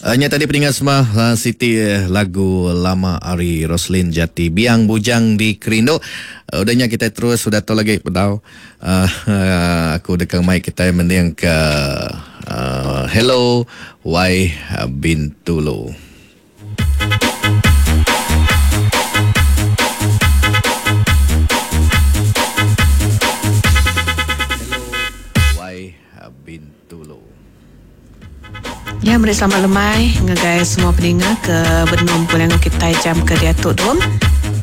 Nya tadi peninga semua siti lagu lama ari Roslin Jati Biang Bujang Dikerindu. Udah nya kitai terus udah tu lagi bedau aku deka mai kitai mending ke Hello Wai Bintulu. Hello Wai Bintulu. Nya meri selamat lemai ngagai semua peninga ke benung begulai enggau kitai jam ke diatu tu.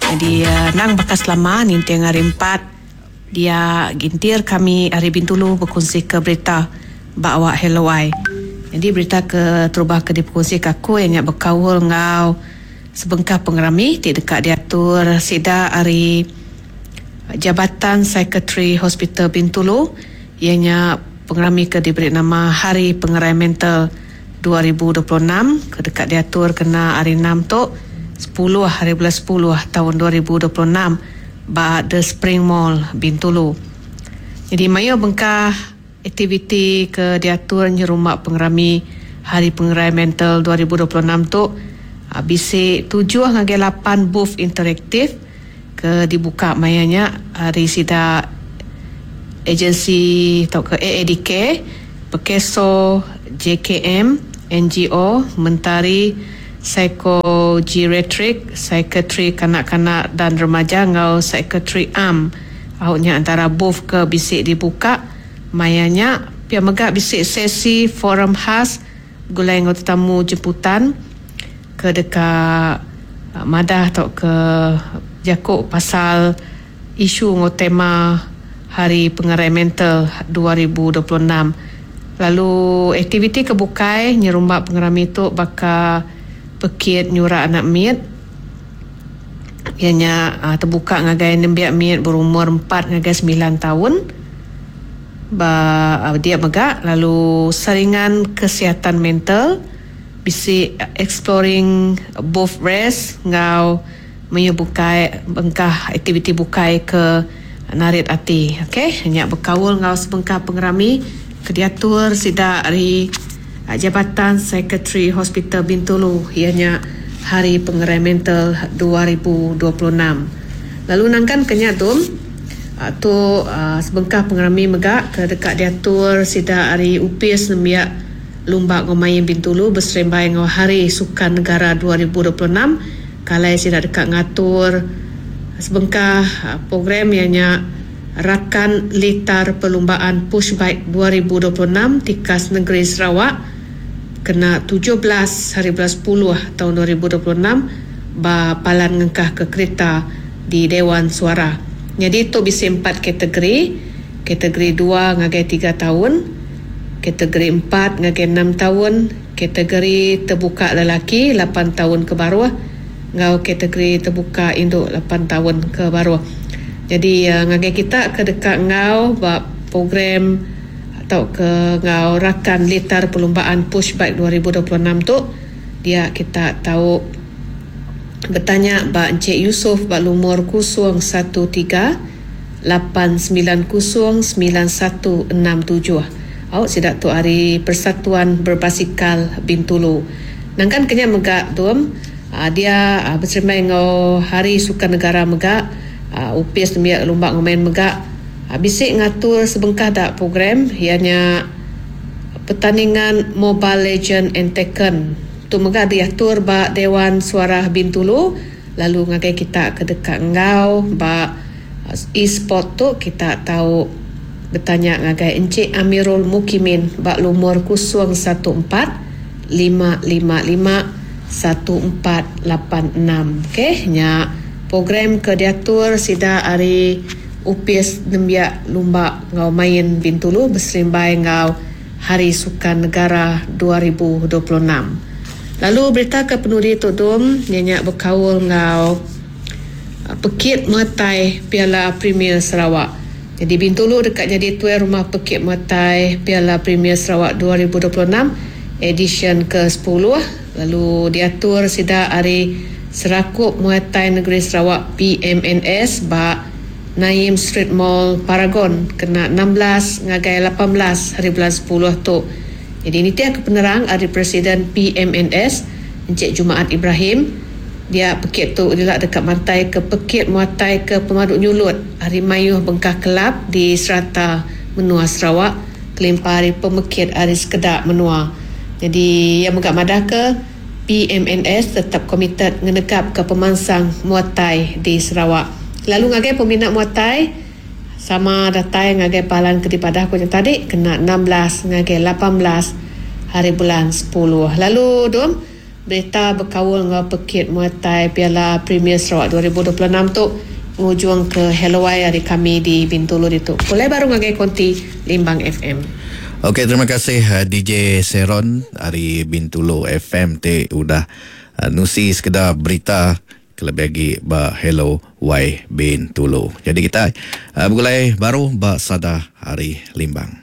Nyadi endang baka selama ninting hari empat dia gintir kami ari Bintulu bekunsika berita ba awak Hello Ai. Nyadi berita ke terubah ke dipekunsika aku iya nya bekaul enggau sebengkah pengerami ti deka diatur sida ari Jabatan Psychiatry Hospital Bintulu iya nya pengerami ke diberi nama Hari Pengerai Mental 2026 ke deka diatur kena hari Enam tu, sepuluh hari bulan sepuluh taun 2026 ba The Spring Mall, Bintulu. Nyadi mayuh bengkah aktiviti ke diatur nyerumba pengerami Hari Pengerai Mental 2026 tu bisi tujuh ngagai lapan booth interaktif, ke dibuka maya nya ari sida ejensi tauka AADK, Perkeso, JKM, NGO, Mentari Psikogeriatrik, Psikiatri Kanak-kanak dan Remaja enggau Psikiatri Am. Au nya entara booth ke bisi dibuka maya nya. Pia mega bisi sesi forum khas begulai enggau tetamu jemputan ke deka madah tauka jaku pasal isu enggau tema Hari Pengerai Mental 2026. Lalu aktiviti ke bukai nyerumba pengerami tu baka pekit nyurak anak mit iya nya tebuka ngagai nembiak mit berumur empat ngagai semilan taun. Ba dia mega lalu saringan kesihatan mental bisi exploring both race enggau mayuh bukai bengkah aktiviti bukai ke narit ati. Ok nya bekaul enggau sebengkah pengerami ke diatur sida ari Jabatan Psychiatry Hospital Bintulu iya nya Hari Pengerai Mental 2026. Lalu nangkan ke nya tu. Tu sebengkah pengerami mega ke deka diatur sida ari Opis Nembiak Lumba enggau Main Bintulu beserimbai enggau Hari Sukan Negara 2026 ke alai sida deka ngatur sebengkah program iya nya Rakan Litar Perlumbaan Pushbike 2026 Tikas Negeri Sarawak kena 17 hari bulan sepuluh taun 2026 ba Palan Ngengkahka Kerita di Dewan Suara. Nyadi tu bisi empat kategori, kategori dua ngagai tiga taun, kategori empat ngagai enam taun, kategori tebuka lelaki lapan taun ke baruh enggau kategori tebuka indu lapan taun ke baruh. Nyadi ngagai kita ke deka enggau ba program tauka enggau rakan litar perlumbaan Pushbike 2026 tu dia kita tau Betanya ba Encik Yusof ba lumur 03 890 9167. Au sida tu ari Persatuan Berbasikal Bintulu. Nangkan ke nya mega Dom, dia beserimbai enggau Hari Sukan Negara mega, Opis Nembiak Lumba enggau Main mega bisi ngatur sebengkah da program iya nya Pertandingan Mobile Legend and Tekken. Tu mega diatur ba Dewan Suarah Bintulu lalu ngagai kita ke deka enggau ba e-sport tu kita tau betanya ngagai Encik Amirul Mukimin ba lumur 01 4 555 1486. Ok nya program ke diatur sida ari Opis Nembiak Lumba enggau Main Bintulu beserimbai enggau Hari Sukan Negara 2026. Lalu berita ke penudi tu dum iya nya bekaul enggau Pekit Muay Piala Premier Sarawak. Nyadi Bintulu deka nyadi tuai rumah Pekit Muay Piala Premier Sarawak 2026 edisyen ke sepuluh lalu diatur sida ari Serakup Muay Thai Negeri Sarawak, PMNS, ba Naim Street Mall Paragon kena 16 ngagai 18 haribulan sepuluh tu. Nyadi nitih ke penerang ari Presiden PMNS, Encik Jumaat Ibrahim, dia pekit tu dila deka mantai ke pekit muatai ke pemadu nyulut ari mayuh bengkah kelab di serata menua Sarawak kelimpah ari pemekit ari sekeda menua. Nyadi iya mega madahka PMNS tetap komited ngenegapka pemansang muatai di Sarawak. Lalu ngagai peminat muatai, Sama datai ngagai palan ke dipadah ku nya tadi kena 16 ngagai 18 haribulan sepuluh. Lalu dum, berita bekaul enggau pekit Muay Thai Piala Premier Sarawak 2026 tu ngujung ke Hello-Wai ari kami di Bintulu ditu. Pulai baru ngagai konti Limbang FM. Ok terima kasih DJ Seron ari Bintulu FM ti udah nusi sekeda berita Kelebih agi ba Hello Wai Bintulu. Jadi kitai begulai baru ba Sada Hari Limbang.